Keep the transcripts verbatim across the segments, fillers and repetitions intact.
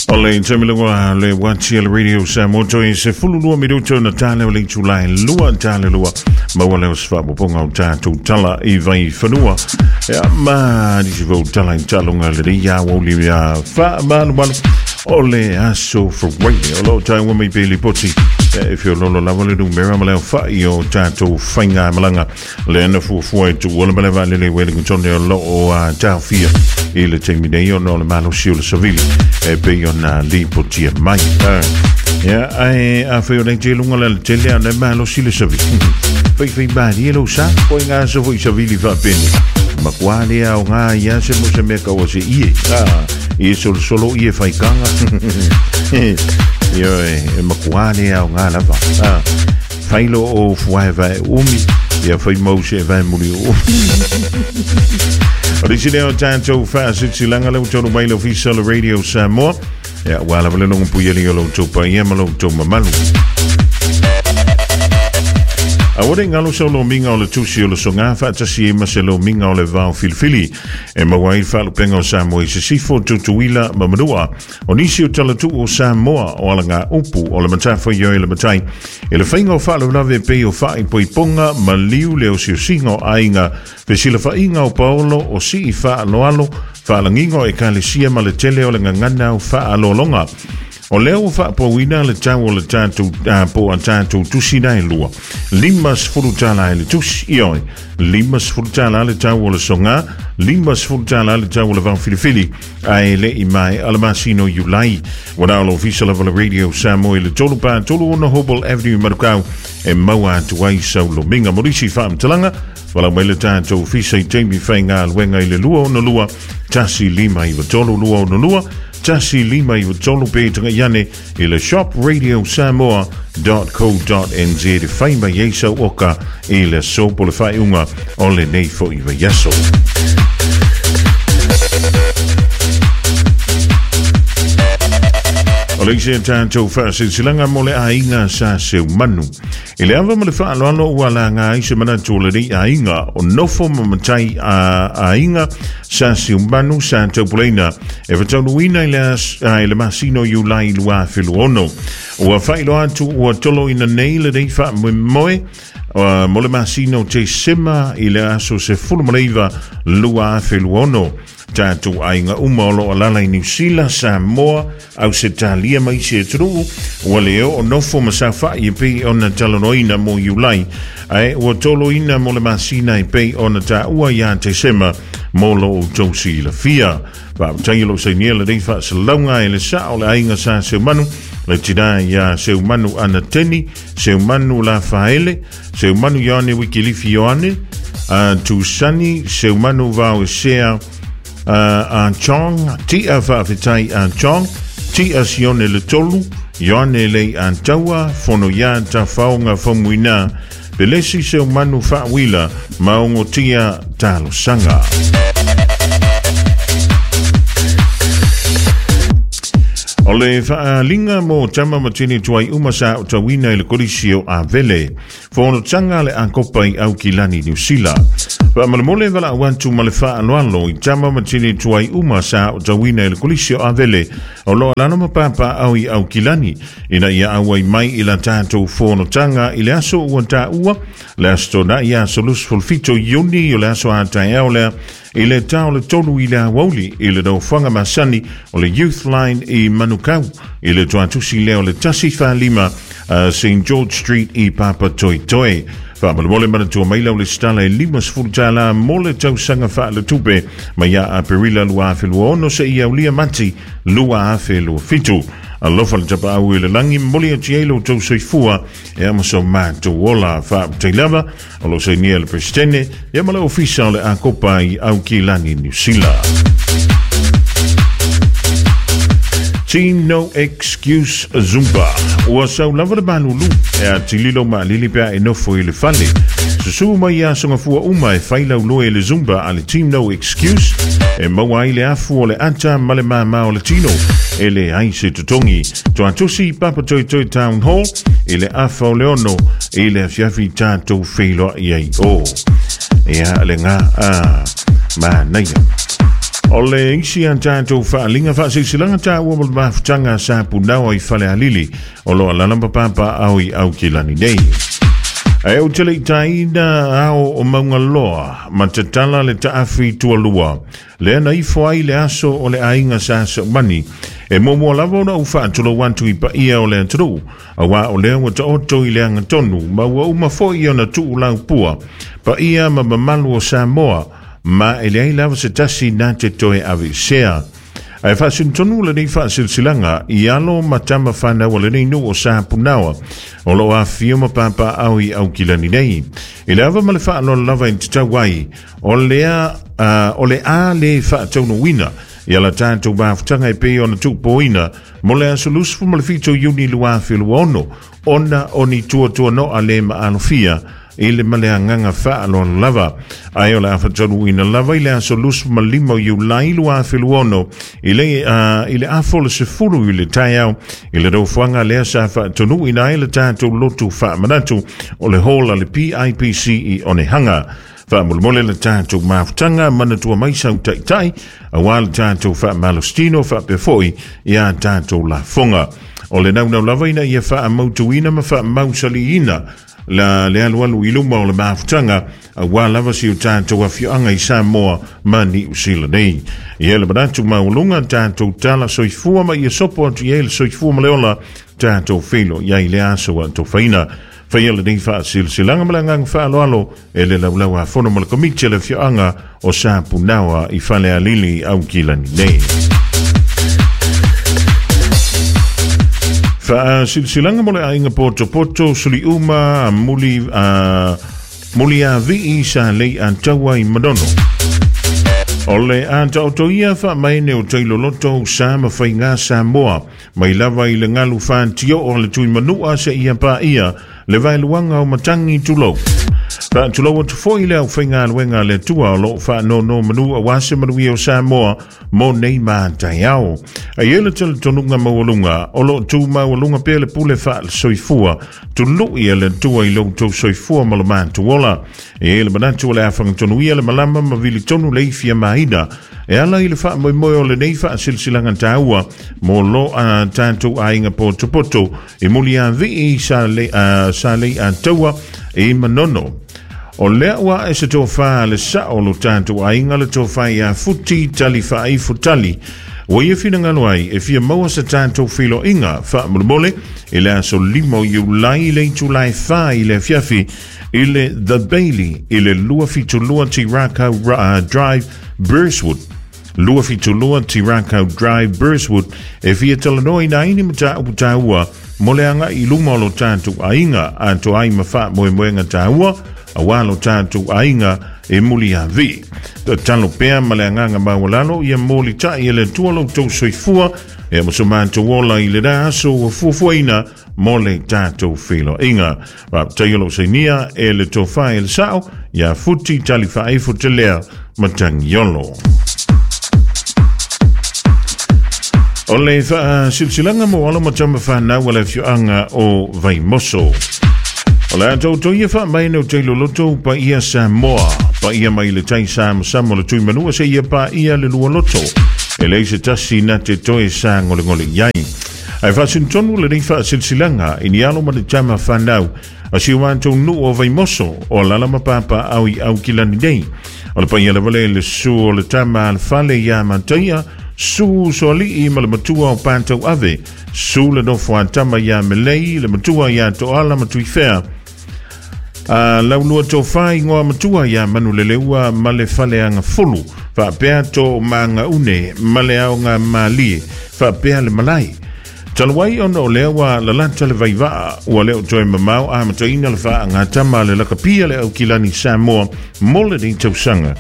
O le taimilunga le wati le radio Samoa toi se fululua minuto na tale o le itulai lua tale lua maua leo se faapopoga o tatou tala i vai fanua ia ma nisi fou tala i talunga le lei aoauli ia faamalumalu o le aso Friday o loo taua mai pe lipoti e fiololo lava le numera ma leo fai o tatou faiga malaga le ana fuafua e tuua le male vaalele Wellington o loo a taofia i le taimi nei ona o le malosi o le savili e pei ona lipotia mai. Ia ae afai o nei te luga le tele a na malosi le savili faifai malie lou sa po i ngā aso foi savili faapene makuā lea o ngā ia se mo se mea kaua se ie ie solosolo ie faikanga ia e makuā lea o ngā lava failo o fuae vae umi ia fai mau se vae muli o O lisi leo tātou whaasitilaga leo tolu mai le ofisa le Radio Samoa ia ua lava le logo puiali o lou tou paia ma lou tou mamalu. Aua le galo sau lomiga o le tusi o le soga faatasi ai ma se lomiga o le vao filifili e maua ai le faalupega o Samoa i sisifo Tutuila ma Manua. O nisi o talatuu o Samoa o alaga upu o le matafaioi le matai e le faiga o faalavelave pei o faaipoipoga ma liu le osiosiga o aiga fesilafaiga o paolo o sii faaloalo faalagiga o ekalesia ma le tele o le gagana o faalologa. O lea ua faapauina le tau o le tatou po a tatou tusi na e lua. Lima sefulu tala e le tusi, ioi. Lima sefulu tala le tau o le soga, lima sefulu tala le tau o le vao filifili, ae le i mai a le masino Iulai. Ua na o le ofisa lava le Radio Samoa i le tolu pa tolu ono Hobble Avenue Manukau e maua atu ai sau lomiga. Morisi faamatalaga, walau mai le tatou ofisa i taimi faiga luenga i le lua ono lua, tasi lima iwa tolu lua ono lua, tasi lima iwa tolu pe tanga iane i le shop radio samoa dot co dot nz e fai mai ei sau oka i le sopo le whaiunga o le nei fo iwa yaso. O le isi tātou whaasilasilaga mo le aiga sa seumanu. I le ava ma le faaloalo ua laga ai se manatu o lenei aiga o nofo ma matai a aiga sa seumanu sa taupuleina e fataunuina i le, i le masino Iulai lua afe luaono. Ua faailoa atu ua toloina nei lenei faamoemoe Uh, mo le masino Tesema i le aso se fulu maleiva lua afe luaono. Tātou aiga uma o loo alala i Niu Sila, Samoa, Ausetalia ma isi atunuu, ua le oo nofo ma safa'i e pei ona talanoaina mo Iulai, ae ua toloina mo le masina e pei ona taua iā Tesema mo lo outou silafia. Faafetai o lou sainia lenei faasalauga e le sao le aiga sa seumanu, le tinā iā Seumanu Anateni, Seumanu Lafaele, Seumanu Ioane Wikilifi Ioane, uh, Tusani, Seumanu Vaoesea, Uh, a Chong, Tia Faafetai a Chong, Tia Sione le Tolu, Ioane Lei a Taua, Fono ia Tafaoga Famuina, Pelesi Seumanu Faawila, Maongo Tia Talosaga. O le faalinga mo tama matini tuai uma sa o tauina i le kolisi o Avele. Fonotaga le akopa i Aukilani, Niu Sila. Faamalemole valaau atu ma le faaloalo i tama matini tuai uma sa o tauina i le kolisi o Avele. O loa lano ma papaau i Aukilani. Ina ia auai mai i la tatou fonotaga i le aso ua taua. Le aso tonai aso lusu fito Iuni o le aso a taeao lea i le tao le tolu i le awauli i le nofoaga masani o le Youth Line i Manukau i le tuatusi lea o le tasi faalima uh, Saint George Street i Papatoetoe. Faamalemole manatua mai lau le stala e lima sefulu tala mo le tausaga faaletupe mai ia Aperila lua afe lua ono se ia ulia mati lua afe lua fitu. Alofa le tapaau i le langi moli atu ai lo tou soifua e ama so mātou ola faaputei lava o lo sainia le presidente e ama le ofisa o le akopa i Aukilani, Niu Sila. Team No Excuse Zumba. Ua sau lava le malulu e a tililo maalili pea e nofo i le fale. Susu mai ia songafua uma e failau loe le Zumba a le Team No Excuse e maua ai le afu o le ata ma le māmā o le tino e le ai se totongi. Tuatusi Papatoetoe Town Hall i le afa o le ono i le afiafi tātou wheiloa i ai o. Ia le ngā a manaia. O le isi a tātou whaalinga whaasisilanga tāua mo le mafutanga sa punawa i Falealili o loa lalamba papa au i au kilani nei. Ae o te leitaina ao o Maungaloa, ma tatala le taafi tualua. Lea na ifo ai le aso o le aiga sa saumani. E momoa lava ona u whaatulo wantu i paia o le aturu. Awa o lea wa taoto i le angatonu, ma ua uma foi ona tuu lau pua. Paia ma mamalu o Samoa, ma e leai lava se tasi nā te toe avisea. Ae whaasintonu le nei whaasilsilanga i alo matama whanau le nei nuu o sa punawa o lo a fio ma papa au i au kilani nei. I le ava ma le whaalola lava i te tau ai o lea, uh, o le a le whaataunuina i ala tātou mafutanga e pei ona tūpoina mo le aso lusufu ma le fito Iuni lua afe lua ono ona oni tuatua no a le maalofia i le maleagaga faaloalo lava. Ae o le afataunuina lava i le aso lusu ma lima o Iulai lua afe lua ono i le, uh, i le afo le sefulu i le taeao i le rofuaga lea sa faatonuina ai le tatou lotu faamanatu o le hall a le P I P C i Onehanga. Faamolemole le tatou mafutaga manatua mai sau taitai auā le tatou faamalositino faapea foʻi iā tatou lafoga. O le naunau lava ina ia faamautuina ma faamausaliina la le alu alu i luma o le mafutaga auā lava si o tatou afioaga i Samoa ma Niu Sila nei. Ia le manatu maualuga tatou tala soifua ma ia sopo atu i ai le soifua ma le ola tatou felo iai le aso a tofaina. Faia le nei faasilasilaga ma le agaga faaaloalo e le laulau afono ma le komiti a le afioaga o Sapunaoa i Falealili Aukilani nei. Faasilasilaga mo le aiga potopoto suliuma muli uh, muli a vii sa lei ataua i Manono. O le ataotoia faamaene o tailoloto sa ma faiga Samoa mai lava i le galu fatio o le tuimanua seia paia le vaeluaga o matangi tulou. Faatulou atu foʻi le aufaigaluega le Atua o loo faanono manu auā se manuia o Samoa mo nei mataeao. Ai e le talitonuga maualuga o loo tu maualuga pea le pule faalesoifua tului e le Atua i loutou soifua ma lo matuola. E le manatu o le afagatonuia le malama ma vilitonu le ifia maina e ala i le faamoemoe o lenei faasilasilaga taua mo lo a tatou aiga potopoto e muliavii sa lei sa lei ataua e Manono. O lea ua e se tofā le sao lo tatou aiga le tofā ia futi tali faaifu tali. Ua ia finagalo ai e fia maua se tatou filoiga faamolemole i le aso lima o Iulai i le itulai fā i le afiafi i le The Bailey i le lua fitu lua Tirakau Drive, Burswood. Lua fitu lua Tirakau Drive, Burswood e fia talanoa ina ai ni mataupu taua mo le agaʻi i luma o lo tatou aiga atoa ai ma faamoemoega taua auā lo tatou aiga e muliaviʻi. Tatalo pea ma le agaga maualalo ia molitaʻi e le Atua loutou soifua e ma so matou ola i lena aso ua fuafuaina mo le tatou feloaiga. Faapetaia lou sainia e le tofā e le sao ia futi tali faaifo telea matagiolo. O le faasilasilaga mo alo ma tama fanau a le afioaga o Vaimoso. O le atoutoia faamaene o tailoloto paia Samoa, paia mai le tai samasama o le tuimanua seia paia le lualoto. E leai se tasi na te toe sagolegole i ai. Ae faasinitonu lenei faasilasilaga i ni alo ma le tama fanau a si o matou nuu o Vaimoso o alala ma papa au i Aukilani nei. O le paia lava lea i le susu o le tama a le fale iā Mataia, su soali'i ma le matua o Patau Ave, su le nofo a tama iā Melei, le matua iā Toala ma Tuifea. A laulua tofā igoa matua iā Manuleleua ma le faleaga fulu, faapea to magaune ma le aoga malie, faapea le malae. Talu ai ona o lea ua lalata le vaivaa ua leo toe mamao amataina le faagatama le lakapia le Aukilani Samoa mo lenei tausaga.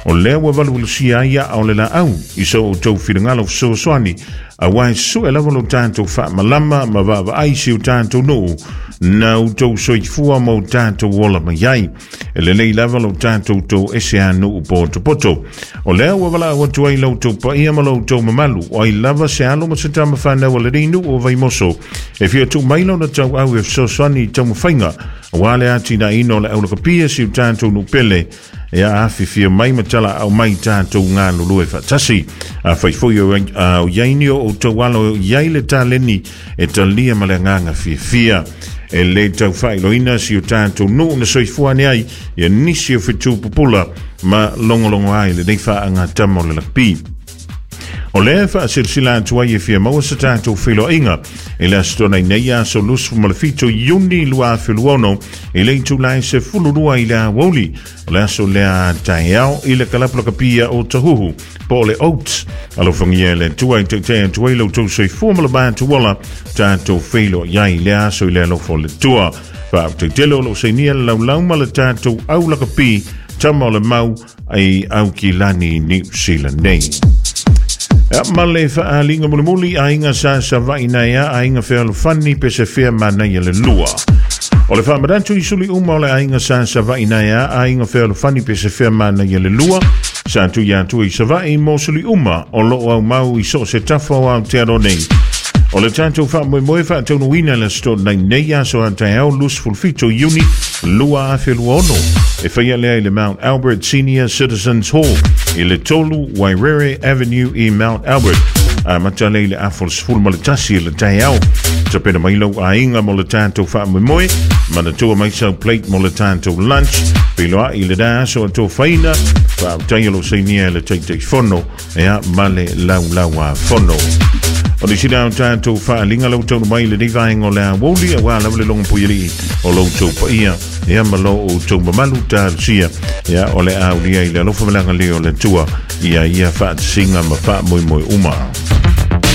O lea ua valuvalusia ai a'a o le laau i so outou finagalo fesoasoani auā e sue lava lo tatou faamalama ma vaavaai si o tatou nuu na outou soifua ma o tatou ola mai ai. E lelei lava lo tatou tou ese a nuu potopoto. O lea ua valaau atu ai loutou paia ma loutou mamalu o ai lava se alo ma se tama fanau a lenei nuu o Vaimoso e fia tuu mai lona tauau e fesoasoani i taumafaiga auā le atinaeina o le aulakapia si o tatou nuu pele Ia afifio mai ma talaau mai tatou galulue faatasi. Afai foi o i ai ni o outou alo i ai le taleni e talia ma le agaga fiafia. E lē taufailoina si o tatou nuu na soifua ane ai ia nisi o fetu pupula ma logologo ai lenei faagatama o le lakapi. O lea faasilasila atu ai e fia maua se tatou feiloaiga i le aso Toonai nei aso luasefulu ma le fito Iuni lua afe luaono i le itula e sefululua i le aoauli. O le aso lea taeao i le kalapu lakapia o Tahuhu po o le Oats. Alofagia e le Atua e taitai atu ai lo outou soifua ma le matou ola tatou feiloai ai i le aso i le alofa o le Atua. Faafetai tele o loo sainia le laulau ma le tatou au lakapi tama o le mau ai Aukilani Niu Sila nei. Ma le faaaliga mulimuli aiga sa Savaii na ea aiga fealofani pe se fea manaia le lua. O le faamanatu i suli uma o le aiga sa Savaii na ea aiga fealofani pe se fea manaia le lua. Sa tui atu i Savaii mo suli uma o loo aumau i so o se tafa o Aotearoa nei. O le tatou faamoemoe faataunuuina le Aso Toonai nei aso a taeao luasefulu fitu Iuni lua afe lua ono. E faia lea i le Mount Albert Senior Citizens Hall i le tolu Wairere Avenue i Mount Albert. Amata lea i le afa o le sefulu ma le tasi i le taeao. Tapena mai lou aiga mo le tatou faamoemoe, manatua mai sau plate mo le tatou lunch. Feiloai i lena aso atofaina, faafetai o loo sainia e le Taitaifono ea ma le Laulau-a-Fono. O le sina o tatou faaaliga lau taunu mai lenei vaega o le aoauli auā lava le logo puialii o lo outou paia ia ma lo outou mamalu talosia ia o le a aulia i le alofa ma le agalelei o le Atua ia ia faatasiga ma faamoemoe uma.